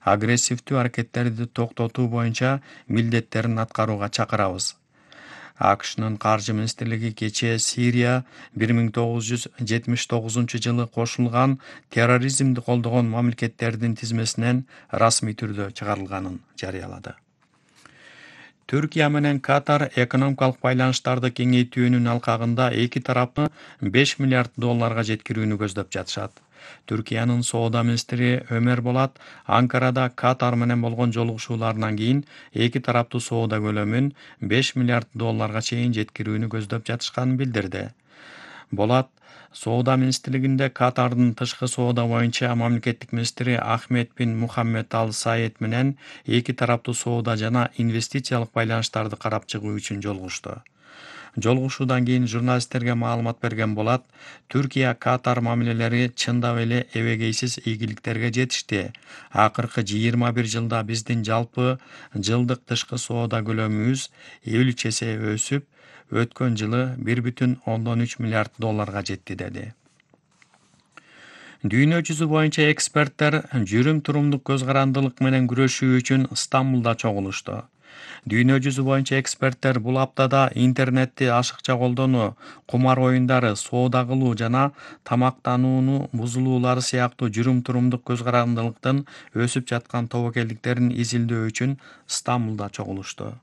агрессивдүү аракеттерди токтотуу боюнча милдеттерин аткарууга чакырабыз. АКШнын каржы министрлиги кечээ Сирия 1979-жылы кошулган терроризмди колдогон мамлекеттердин тизмесинен расмий түрдө чыгарылганын жарыялады. Түркия менен Катар экономикалык байланыштарды кеңейтүүнүн алкагында эки тарапты $5 миллиард жеткирүүнү көздөп жатышат. Түркиянын соода министри Ömer Bolat Анкарада Катар менен болгон жолугушууларынан кийин эки тараптуу соода көлөмүн $5 миллиард чейин жеткирүүнү көздөп жатышканын билдирди. Болат соода министрлигинде Катардын тышкы соода боюнча мамлекеттик министри Ахмед бин Мухаммед Ал Саид менен эки тараптуу соода жана инвестициялык байланыштарды карап чыгуу үчүн жолугушту. Жолугушуудан кийин журналисттерге маалымат берген Болат, Түркия Катар мамилелери чындап эле эбегейсиз ийгиликтерге жетишти. Акыркы 21 жылда биздин жалпы жылдык тышкы соода көлөмүбүз 53 эсе өсүп, өткөн жылы $1,3 миллиард жетти, деди. Дүйнө жүзү боюнча эксперттер жүрүм-турумдук көз карандылык менен күрөшүү үчүн Стамбулда чогулушту. Дүйнө жүзү боюнча эксперттер бул аптада интернетти ашыкча колдонуу, кумар оюндары, соода кылуу жана тамактанууну бузулуулары сыяктуу жүрүм-турумдук көз карандылыктын өсүп жаткан тобокелдиктерин изилдөө үчүн Стамбулда чогулушту.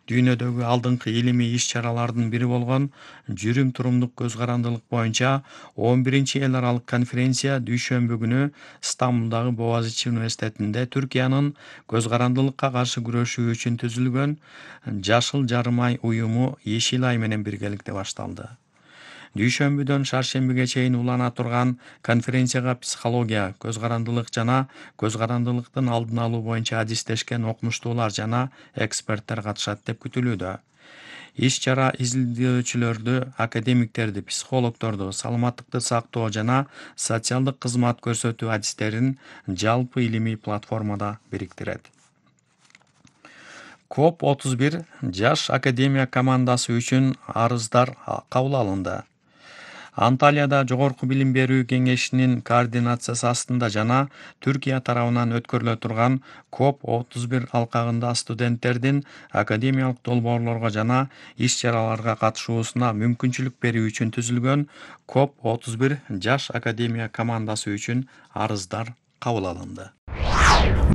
Дүйнөдөгү алдыңкы илимий иш-чаралардын бири болгон жүрүм-турумдук көз карандылык боюнча 11-чи эл аралык конференция дүйшөмбү күнү Стамбулдагы Боğaziçi университетинде Түркиянын көз карандылыкка каршы күрөшүү үчүн түзүлгөн Жашыл жарым ай уюму Ешил ай менен биргеликте башталды. Дүйшөмбүдөн шаршембиге чейин улана турган конференцияга психология, көз карандылык жана көз карандылыктын алдын алуу боюнча адистешкен окумуштуулар жана эксперттер катышат деп күтүлүүдө. Иш-чара изилдөөчүлөрдү, академиктерди, психологдорду, саламаттыкты сактоо жана социалдык кызмат көрсөтүү адистерин жалпы илимий платформада бириктирет. COP31 жаш академия командасы үчүн арыздар кабыл алынды. Анталияда Жогорку билим берүү кеңешинин координациясы астында жана Түркия тарабынан өткөрүлө турган COP31 алкагында студенттердин академиялык долбоорлорго жана иш-чараларга катышуусуна мүмкүнчүлүк берүү үчүн түзүлгөн COP31 жаш академия командасы үчүн арыздар кабыл алынды.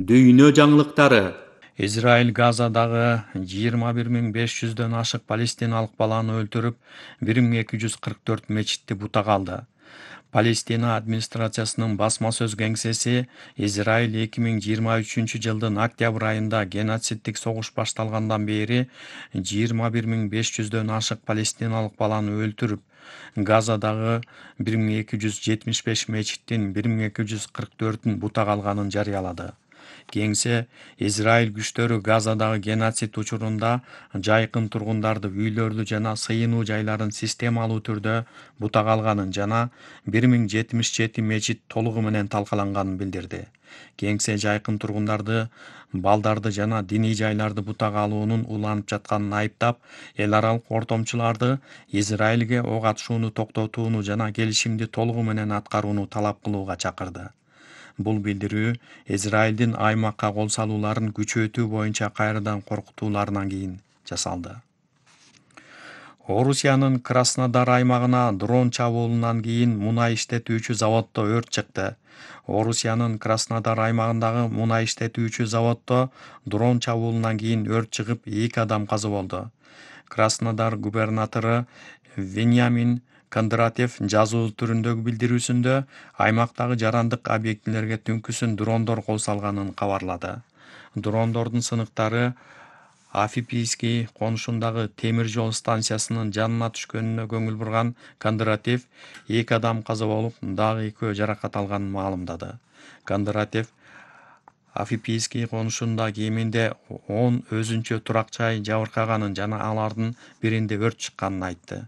Дүйнө жаңылыктары. Израиль Газадагы 21.500дөн ашык палестиналык баланы өлтүрүп, 1244 мечитти бутак алды. Палестина администрациясынын басма сөз кеңсеси Израиль 2023-жылдын октябрь айында геноциддик согуш башталгандан бери 21.500дөн ашык палестиналык баланы өлтүрүп, Газадагы 1275 мечиттин 1244-ün бутак алганын жарыялады. Кеңсе Израиль күчтөрү Газадагы геноцид учурунда жайкын тургундарды үйлөрдү жана сыйынуу жайларын системалуу түрдө бутак алганын жана 1077 мечит толугу менен талкаланганын билдирди. Кеңсе жайкын тургундарды, балдарды жана диний жайларды бутак алуунун уланып жатканын айыптап, эл аралык ортомчуларды Израилге ок атышууну токтотууну жана келишимди толугу менен аткарууну талап кылууга чакырды. Бул билдирүү Израилдин аймакка кол салууларын күчөтүү боюнча кайрадан коркутууларынан кийин жасалды. Орусиянын Краснодар аймагына дрон чабуулунан кийин мунай иштетүүчү заводдо өрт чыкты. Орусиянын Краснодар аймагындагы мунай иштетүүчү заводдо дрон чабуулунан кийин өрт чыгып, 2 адам каза болду. Краснодар губернатору Вениамин Кондратьев жазуу түрүндөгү билдирүүсүндө аймактагы жарандык объектилерге түнкүсүн дрондор кол салганын кабарлады. Дрондордун сыныктары Афипийский конушундагы темир жол станциясынын жанына түшкөнүнө көңүл бурган Кондратьев 2 адам каза болуп, дагы 2 жаракат алганын маалымдады. Кондратьев Афипийский конушунда кеминде 10 өзүнчө турак жай жабыркаганын жана алардын биринде өрт чыкканын айтты.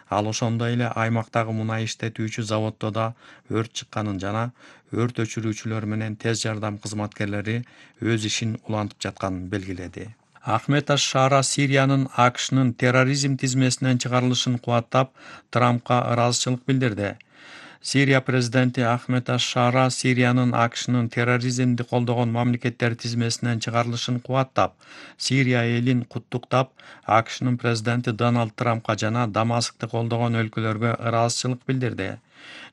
Ал ошондой эле аймактагы мунай иштетүүчү заводдо да өрт чыкканын жана өрт өчүрүүчүлөр менен тез жардам кызматкерлери өз ишин улантып жатканын белгиледи. Ахмед аш-Шара Сириянын АКШнын терроризм тизмесинен чыгарылышын кубаттап, Трампка ыраазычылык билдирди. Сирия президенти Ахмед аш-Шара Сириянын АКШнын терроризмди колдогон мамлекеттер тизмесинен чыгарылышын кубаттап, Сирия элин куттуктап, АКШнын президенти Дональд Трампка жана Дамаскты колдогон өлкөлөргө ыраазычылык билдирди.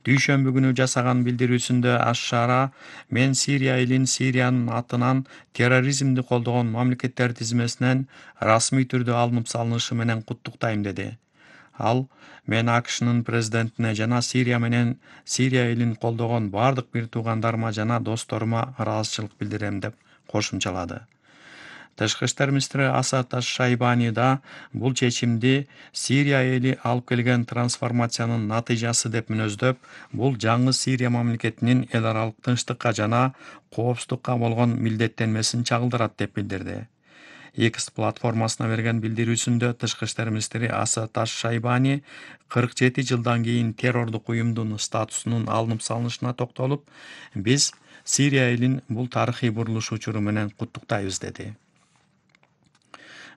Дүйшөмбү күнү жасаган билдирүүсүндө аш-Шара мен Сирия элин Сириянын атынан терроризмди колдогон мамлекеттер тизмесинен расмий түрдө алынып салынышы менен куттуктайм деди. Ал мен АКШнын президентине жана Сирия менен Сирия элин колдогон бардык бир туугандарыма жана досторума ыраазычылык билдирем деп кошумчалады. Тышкы иштер министри Асад аш-Шайбани да бул чечимди Сирия эли алып келген трансформациянын натыйжасы деп мүнөздөп, бул жаңы Сирия мамлекетинин эл аралык тынчтыкка жана коопсуздукка болгон милдеттенмесин чагылдырат деп билдирди. X платформасына берген билдирүүсүндө тышкы иштер министри Асад аш-Шайбани 47 жылдан кийин террордук уюмдун статусунун алынып салынышына токтолуп, биз Сирия элин бул тарыхый бурулуш учуру менен куттуктайбыз деди.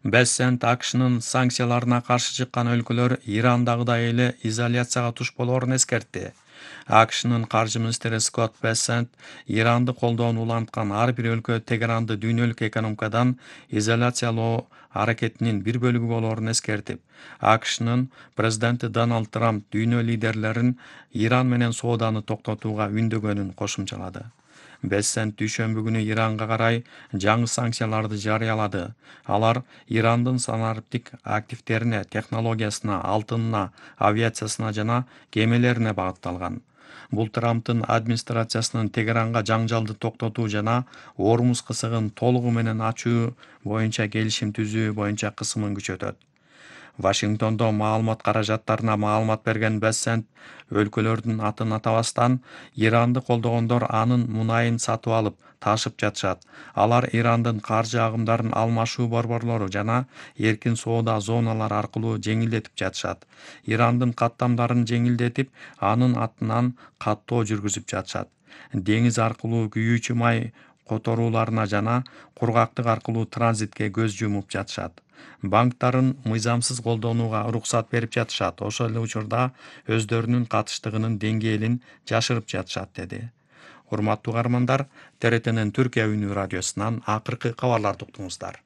Бессент АКШнын санкцияларына каршы чыккан өлкөлөр Ирандагыдай эле изоляцияга туш болоорун эскертти. АКШнын каржы министри Скотт Бессент Иранды колдоону уланткан ар бир өлкө Тегеранды дүйнөлүк экономикадан изоляциялоо аракетинин бир бөлүгү болоорун эскертип, АКШнын президенти Дональд Трамп дүйнө лидерлерин Иран менен сооданы токтотууга үндөгөнүн кошумчалады. Бессент дүйшөмбү күнү Иранга карай жаңы санкцияларды жарыялады. Алар Ирандын санариптик активдерине, технологиясына, алтынына, авиациясына жана кемелерине багытталган. Бул Трамптын администрациясынын Тегеранга жаңжалды токтотуу жана Ормуз кысыгын толугу менен ачуу боюнча келишим түзүү боюнча кысымын күчөтөт. Вашингтондо маалымат каражаттарына маалымат берген Бессент өлкөлөрдүн атын атабастан Иранды колдогондор анын мунайын сатып алып, ташып жатышат. Алар Ирандын каржы агымдарын алмашуу борборлору жана эркин соода зоналары аркылуу жеңилдетип жатышат. Ирандын каттамдарын жеңилдетип, анын атынан каттоо жүргүзүп жатышат. Деңиз аркылуу күйүүчү май которууларына жана кургактык аркылуу транзитке көз жумуп жатышат. Банктарын мыйзамсыз колдонууга уруксат берип жатышат. Ошол эле учурда өздөрүнүн катыштыгынын деңгээлин жашырып жатышат, деди. Урматтуу угармандар, ТРТнын Түркия үнү радиосунан акыркы кабарларды уктуңуздар.